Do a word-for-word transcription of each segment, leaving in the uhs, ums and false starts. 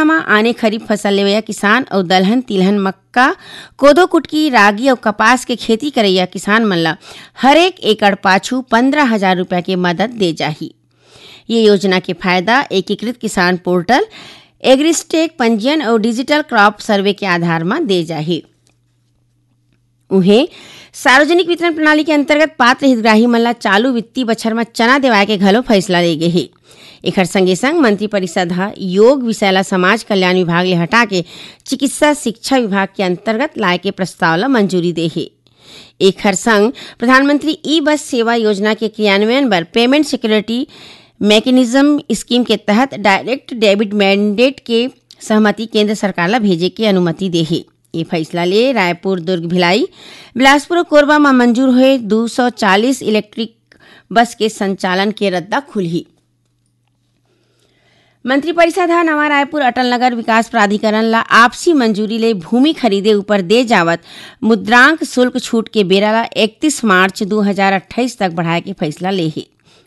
म आने खरीफ फसल लेवइया किसान अउ दलहन, तिलहन, मक्का, कोदो, कुटकी, रागी अउ कपास के खेती करइया किसान मन ल हरेक एकड़ पाछू पंद्रह हजार रुपया के मदद दे जाही। ये योजना के फायदा एकीकृत किसान पोर्टल, एग्रीस्टेक पंजीयन अउ डिजिटल क्रॉप सर्वे के आधार म दे जाही। उहें, सार्वजनिक वितरण प्रणाली के अंतर्गत पात्र हितग्राही मन ला चालू वित्तीय बछर म चना देवाय के घलो फैसला ले गे हे। एखर संगे संग मंत्रिपरिषद ह योग विषय ला समाज कल्याण विभाग ले हटा के चिकित्सा शिक्षा विभाग के अंतर्गत लाय के प्रस्ताव ला मंजूरी दे हे। एखर संग प्रधानमंत्री ई बस सेवा योजना के क्रियान्वयन बर पेमेंट सिक्योरिटी मैकेनिज्म स्कीम के तहत डायरेक्ट डेबिट मैंडेट के सहमति केंद्र सरकार ला भेजे के अनुमति दे हे। ये फैसला ले रायपुर, दुर्ग, भिलाई, बिलासपुर अउ कोरबा म मंजूर होए दू सौ चालीस इलेक्ट्रिक बस के संचालन के रद्दा खुलही। मंत्रिपरिषद ह नवा रायपुर अटल नगर विकास प्राधिकरण ला आपसी मंजूरी ले भूमि खरीदे ऊपर दे जावत मुद्रांक शुल्क छूट के बेरा ला इकतीस मार्च दू हजार अट्ठाईस तक बढ़ाए के फैसला ले हे।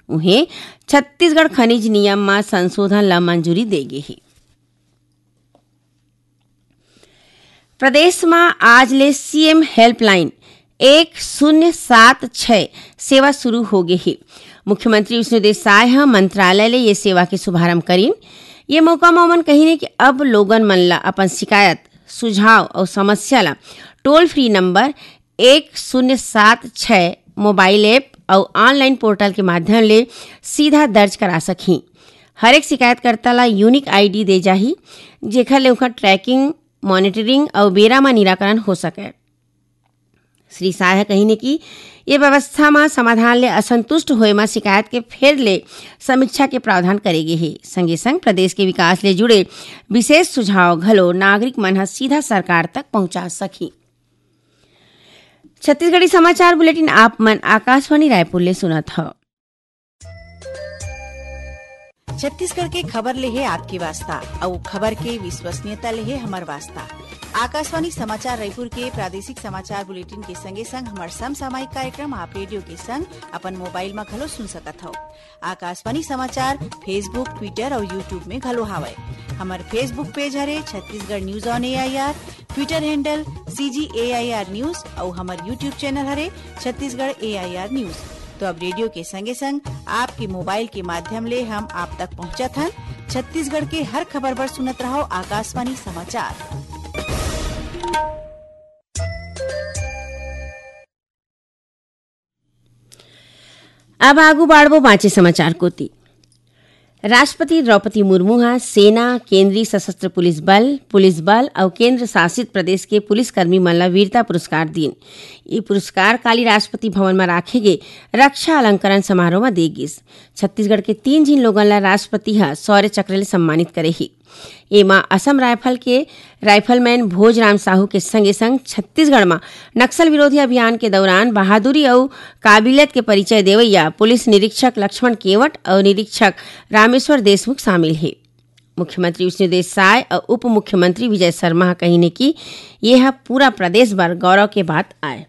उहें, छत्तीसगढ़ खनिज नियम म संशोधन ला मंजूरी दे गे हे। प्रदेश म आज ले सीएम हेल्पलाइन एक शून्य सात छह सेवा शुरू हो गे हे। मुख्यमंत्री विष्णुदेव साय ह मंत्रालय ले ये सेवा के शुभारंभ करिन। ये मौका म ओमन कहिन कि अब लोगन मन ल अपन शिकायत, सुझाव अउ समस्या ल टोल फ्री नंबर एक शून्य सात छह मोबाइल ऐप अउ ऑनलाइन पोर्टल के माध्यम ले सीधा दर्ज करा सकही। हर एक शिकायतकर्ता ला यूनिक आईडी दे जाही, जेखर ले ओखर ट्रैकिंग, मॉनिटरिंग अउ बेरा म निराकरण हो सकय। श्री साय ह कहिन कि ये व्यवस्था म समाधान ले असंतुष्ट होए म शिकायत के फेर ले समीक्षा के प्रावधान करे गे हे। संगे संग प्रदेश के विकास ले जुड़े विशेष सुझाव घलो नागरिक मन ह सीधा सरकार तक पहुंचा सकही। छत्तीसगढ़ी समाचार बुलेटिन आप मन आकाशवाणी रायपुर ले सुनत हव। छत्तीसगढ़ के खबर ले हे आपके वास्ता, अउ खबर के विश्वसनीयता ले हे हमर वास्ता। आकाशवाणी समाचार रायपुर के प्रादेशिक समाचार बुलेटिन के संगे संग हमर समसामयिक कार्यक्रम आप रेडियो के संग अपन मोबाइल म घलो सुन सकत हव। आकाशवाणी समाचार Facebook, Twitter अउ YouTube में घलो हावय। हमर Facebook पेज हरे Chhattisgarh news on AIR, Twitter handle CG AIR news अउ हमर YouTube चैनल हरे छत्तीसगढ़ एआईआर न्यूज। तो अब रेडियो के संगे संग आपके मोबाइल के माध्यम ले हम आप तक पहुंचत हन। छत्तीसगढ़ के हर खबर बर सुनत रहव आकाशवाणी समाचार। अब आगू बाढ़बो बांचे समाचार कोति। राष्ट्रपति द्रौपदी मुर्मू ह सेना, केंद्रीय सशस्त्र पुलिस बल, पुलिस बल अउ केंद्र शासित प्रदेश के पुलिसकर्मी मन ल वीरता पुरस्कार दीन। ये पुरस्कार काली राष्ट्रपति भवन म राखे गे रक्षा अलंकरण समारोह म दे गिस। छत्तीसगढ़ के तीन झिन लोगन ल राष्ट्रपति ह शौर्य चक्र ले सम्मानित करे हे। एमा असम रायफल के राइफलमैन भोजराम साहू के संगे संग छत्तीसगढ़ म नक्सल विरोधी अभियान के दौरान बहादुरी अउ काबिलियत के परिचय देवइया पुलिस निरीक्षक लक्ष्मण केवट अउ निरीक्षक रामेश्वर देशमुख शामिल हे। मुख्यमंत्री विष्णुदेव साय अउ उप मुख्यमंत्री विजय शर्मा ह कहिन हे कि ये ह पूरा प्रदेश बर गौरव के बात आय।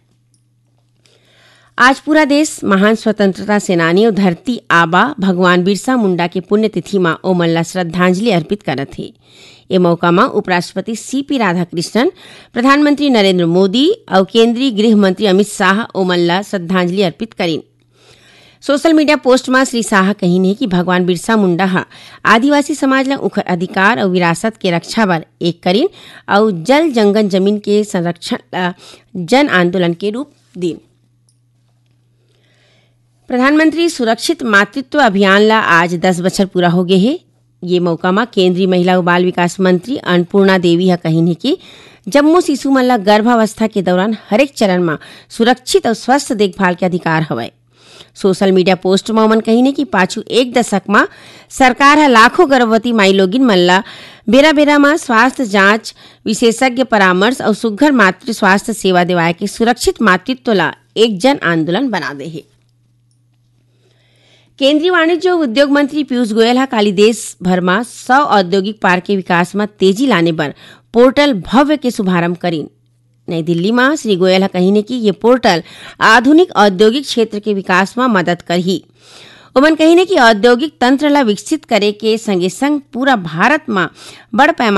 आज पूरा देश महान स्वतंत्रता सेनानी अउ धरती आबा भगवान बिरसा मुंडा के पुण्यतिथि म ओमन ला श्रद्धांजलि अर्पित करत हे। ए मौका म उपराष्ट्रपति सीपी राधाकृष्णन, प्रधानमंत्री नरेंद्र मोदी अउ केंद्रीय गृह मंत्री अमित शाह ओमन ला श्रद्धांजलि अर्पित करिन। सोशल मीडिया पोस्ट म श्री शाह कहिन हे कि भगवान बिरसा मुंडा ह आदिवासी समाज ल उखर अधिकार अउ विरासत के रक्षा बर एक करिन अउ जल जंगल जमीन के संरक्षण ल जन आंदोलन के रूप दीन। प्रधानमंत्री सुरक्षित मातृत्व अभियान ला आज दस बछर पूरा हो गे हे। ये मौका म केंद्रीय महिला अउ बाल विकास मंत्री अन्नपूर्णा देवी ह कहिन हे कि जम्मो शिशु मन ला गर्भावस्था के दौरान हरेक चरण म सुरक्षित अउ स्वस्थ देखभाल के अधिकार हवय। सोशल मीडिया पोस्ट म ओमन कहिन हे कि पाछू एक दशक म सरकार ह लाखों गर्भवती माईलोगिन मन ला बेरा-बेरा म स्वास्थ्य जांच, विशेषज्ञ परामर्श अउ सुघ्घर मातृ स्वास्थ्य सेवा देवाए के सुरक्षित मातृत्व ला एक जन आंदोलन बना दे हे। केंद्रीय वाणिज्य अउ उद्योग मंत्री पीयूष गोयल ह काली देश भर म सौ औद्योगिक पार्क के विकास म तेजी लाने बर पोर्टल भव्य के शुभारंभ करिन। नई दिल्ली म श्री गोयल ह कहिन हे कि ये पोर्टल आधुनिक औद्योगिक क्षेत्र के विकास म मदद करही। ओमन कहिन हे कि औद्योगिक तंत्र ल विकसित करे के संगे-संग पूरा भारत म बड़ पैमाना